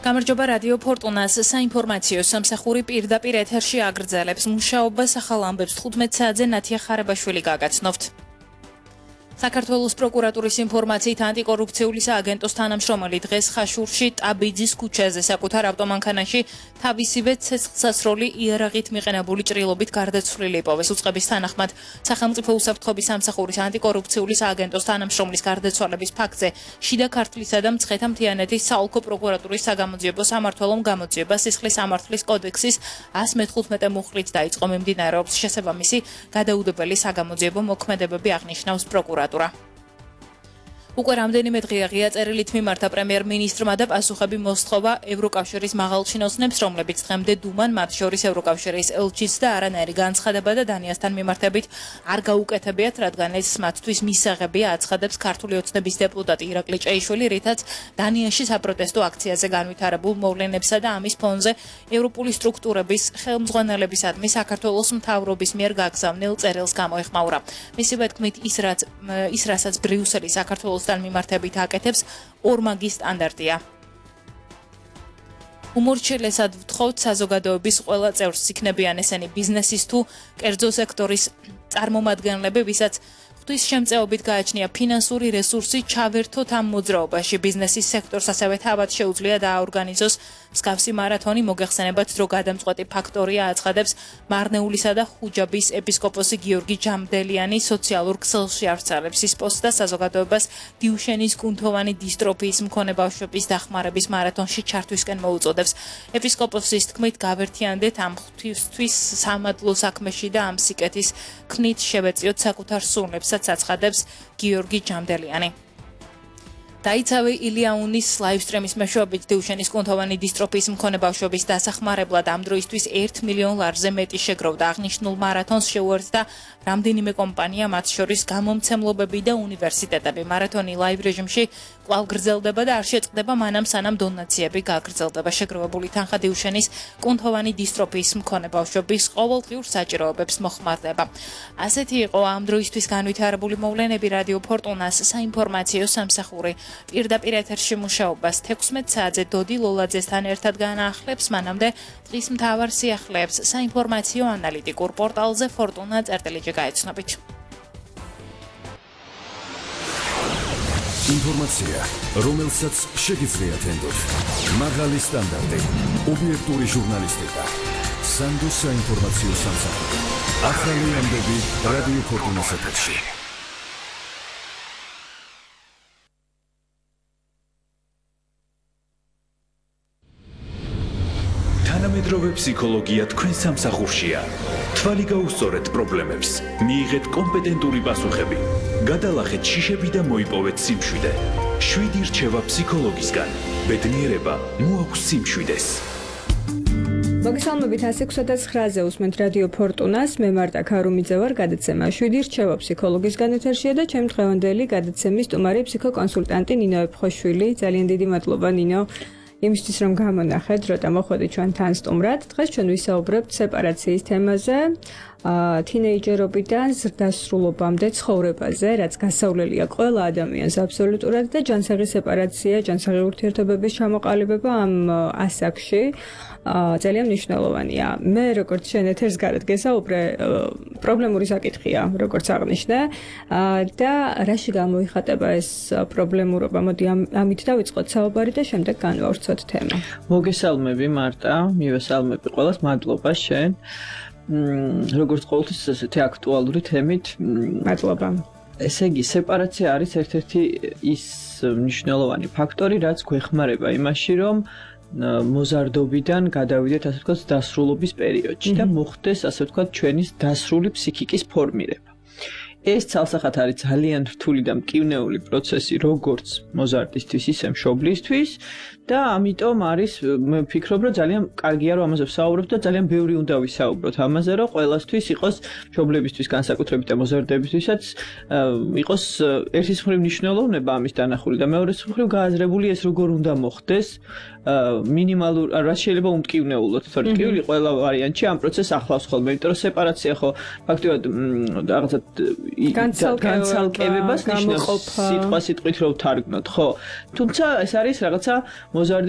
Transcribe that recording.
გამარჯობა რადიო ფორტუნას საინფორმაციო სამსახური პირდაპირ ეთერში აგრძელებს მუშაობას ახალ ამბებს 15 საათზე ნათია ხარაბაშვილი გაგაცნობთ. საქართველოს პროკურატურის ინფორმაციით ანტიკორუფციული სააგენტოს თანამშრომელი დღეს ხაშურში ტაბიძის ქუჩაზე საკუთარ ავტომანქანაში თავისივე ცეცხლსასროლი იარაღით მიყენებული ჭრილობით გარდაცვლილი იპოვეს. უწყების თანახმად სახელმწიფო უსაფრთხოების სამსახურის ანტიკორუფციული სააგენტოს თანამშრომლის გარდაცვალების ფაქტზე შიდა ქართლისა და მცხეთა-მთიანეთის საოლქო პროკურატურის საგამოძიებო სამმართველომ გამოძიება სისხლის სამართლის კოდექსის 115 მუხლით დაიწყო. მიმდინარეობს შესაბამისი გადაუდებელი საგამოძიებო მოქმედებები აღნიშნავს პროკურატურა. უკვე რამდენიმე დღეა ღია წერილით მიმართა პრემიერ-მინისტრმა და პასუხები მოსთხოვა ევროკავშირის მაღალჩინოსნებს, რომლებიც დღემდე დუმან, მათ შორის ევროკავშირის ელჩის და არანაირი განცხადება და დანიასთან მიმართებით არ გაუკეთებიათ, რადგან ეს მათთვის მისაღებია, აცხადებს ქართული ოცნების დეპუტატი ირაკლი ჭეიშვილი, რითაც დანიაში საპროტესტო აქციაზე განვითარებულ მოვლენებსა და ამის ფონზე ევროპული სტრუქტურების ხელმძღვანელებისადმი საქართველოს მთავრობის მიერ გაგზავნილ წერილს გამოეხმაურა. მისივე თქმით, ის რასაც ბრიუსელი საქართველოს მიმართებით აკეთებს, ორმაგი სტანდარტია. უმორჩილესად ვთხოვთ საზოგადოების ყველა წევრს, იქნებიან ესენი ბიზნესის თუ კერძო სექტორის წარმომადგენლები, ვისაც ღვთის შემწეობით გააჩნია ფინანსური რესურსი, ჩავერთოთ ამ მოძრაობაში. ბიზნესის სექტორს ასევე თავად შეუძლია დააორგანიზოს მსგავსი მარათონი. მოგეხსენებათ, დრო გადამწყვეტი ფაქტორია, აცხადებს მარნეულისა და ხუჯაბის ეპისკოპოსი გიორგი ჯამდელიანი. სოციალურ ქსელში ავრცელებს ის პოსტს და საზოგადოებას დიუშენის კუნთოვანი დისტროფიის მქონე ბავშვების დახმარების მარათონში ჩართვისკენ მოუწოდებს. ეპისკოპოსის თქმით, გავერთიანდეთ ამ ღვთისთვის სამადლო საქმეში და ამ სიკეთის ქნით შევეწიოთ საკუთარ სულნებსაც, აცხადებს გიორგი ჯამდელიანი. დაიცავი ილიაუნის ლაივსტრიმის მეშვეობით დიუშენის კუნთოვანი დისტროფიის მქონე ბავშვების დასახმარებლად ამ დროისთვის 1 მილიონ ლარზე მეტი შეგროვდა. აღნიშნულ მარათონს შეუერთდა რამდენიმე კომპანია, მათ შორის გამომცემლობები და უნივერსიტეტები. მარათონი ლაივ რეჟიმში კვლავ გრძელდება და არ შეწყდება მანამ, სანამ დონაციები გაგრძელდება. შეგროვებული თანხა დიუშენის კუნთოვანი დისტროფიის მქონე ბავშვების ყოველდღიურ საჭიროებებს მოხმარდება. ასეთი იყო ამ დროისთვის განვითარებული მოვლენები. რადიო ფორტუნას საინფორმაციო სამსახური პირდაპირ ეთერში მუშაობას 16 საათზე დოდი ლოლაძესთან ერთად განაახლებს. მანამდე დღის მთავარ სიახლეებს საინფორმაციო ანალიტიკურ პორტალზე fortuna.lg გაეცნობით. ინფორმაცია, რომელსაც შეგიძლიათ ენდოთ. მაღალი სტანდარტი, ობიექტური ჟურნალისტიკა. სანდოს საინფორმაციო სამსახური. ახალი ამბები რადიო ფორტუნას ეთერში. თანამედროვე ფსიქოლოგია თქვენ სამსახურშია. თვალი გაუსწორეთ პრობლემებს, მიიღეთ კომპეტენტური პასუხები, გადალახეთ შიშები და მოიპოვეთ სიმშვიდე. 7 რჩევა ფსიქოლოგისგან. ბედნიერება მოაქვს სიმშვიდეს. მოგესალმებით 106-ზე უსმენთ რადიო ფორტუნას, მე მარტა ქარუმიძე ვარ, გადაცემა 7 რჩევა ფსიქოლოგისგან ეთერშია და ჩემი დღევანდელი გადაცემის სტუმარი ფსიქოკონსულტანტი ნინო ეფხოშვილი. ძალიან დიდი მადლობა ნინო. იმისთვის რომ გამონახეთ, რომ მოხვედით ჩვენთან სტუმრად. დღეს ჩვენ ვისაუბრებთ სეპარაციის თემაზე, თინეიჯერობიდან ზრდასრულობამდე ცხოვრებაზე, რაც გასავლელია ყველა ადამიანს აბსოლუტურად და ჯანსაღი სეპარაცია, ჯანსაღი ურთიერთობების ჩამოყალიბება ამ ასაკში ძალიან მნიშვნელოვანია. მე როგორც შენ ეთერს გარეთ გესაუბრე, პრობლემური საკითხია, როგორც აღნიშნე, და რაში გამოიხატება ეს პრობლემურობა? მოდი ამით დავიწყოთ საუბარი და შემდეგ განვავრცოთ თემა. მოგესალმები მარტა, მივესალმები ყველას, მადლობა შენ. როგორც ყოველთვის ესეთი აქტუალური თემით, მადლობა. ესე იგი, სეპარაცია არის ერთ-ერთი ის მნიშვნელოვანი ფაქტორი, რაც გვეხმარება იმაში, რომ მოზარდობიდან გადავიდეთ, ასე ვთქვათ, დასრულობის პერიოდში და მოხდეს, ასე ვთქვათ, ჩვენი დასრული ფსიქიკის ფორმირება. ეს ცალსახად არის ძალიან რთული და მტკივნეული პროცესი, როგორც მოზარდისთვის, ისე მშობლისთვის და ამიტომ არის, მე ვფიქრობ, რომ ძალიან კარგია, რომ ამაზე ვსაუბრობთ და ძალიან ბევრი უნდა ვისაუბროთ ამაზე, რომ ყველასთვის იყოს, მშობლებისთვის, განსაკუთრებით და მოზარდებისთვისაც იყოს ერთის მხრივ მნიშვნელოვნება ამის დანახული და მეორეს მხრივ გააზრებული ეს როგორ უნდა მოხდეს, მინიმალურ, რაც შეიძლება უმტკივნეულოდ, თორე ტკივილი ყველა ვარიანტში ამ პროცესს ახლავს ხოლმე, იმიტომ რომ სეპარაცია ხო ფაქტობრივად რაღაცა განცალკევებას ნიშნავს სიტყვით რომ ვთარგმნოთ, ხო? თუმცა ეს არის რაღაცა მოზარდი